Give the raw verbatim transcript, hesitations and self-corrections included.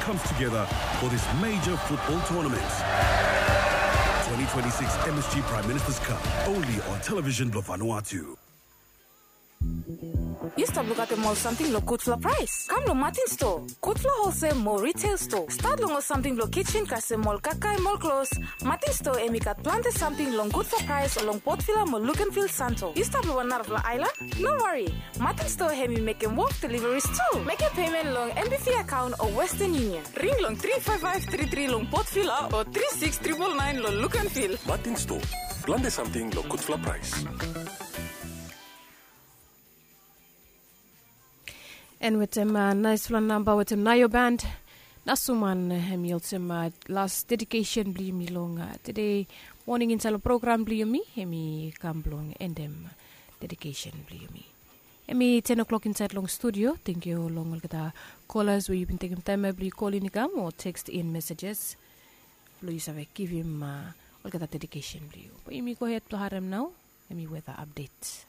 Comes together for this major football tournament. Twenty twenty-six M S G Prime Minister's Cup, only on television Blue Vanuatu. Yu stap lukaotem ol samting long gudfala praes? Kam long Martin Store. Gudfala holsel mo retail store. Stat long ol samting blong kitchen kasem ol kakae mo ol klos. Martin Store hemi gat plante samting long gudfala praes long Port Vila mo Luganville Santo. Yu stap long wan narafala aelan? No wari. Martin Store hemi mekem wok deliveries tu. Mekem pemen long M B V akaon o Western Union. Ring long tri faef faef tri tri long Port Vila o tri siks tripol naen long Luganville. Martin Store. Plante samting long gudfala praes. En wetem naesfala namba wetem Naio Band. Nasuman, hemi olsem las dedikesen blong yumi long tede moning insaed long program blong yumi. Hemi kam blong endem dedikesen blong yumi. Hemi ten o'clock insaed long studio. Tangkiu long olgeta kolas we yu bin tekem taem ya blong yu kolin i kam o tekst in mesejes blong yu save givim olgeta dedikesen blong yu. Be yumi gohed blong harem nao. Hemi weta apdet.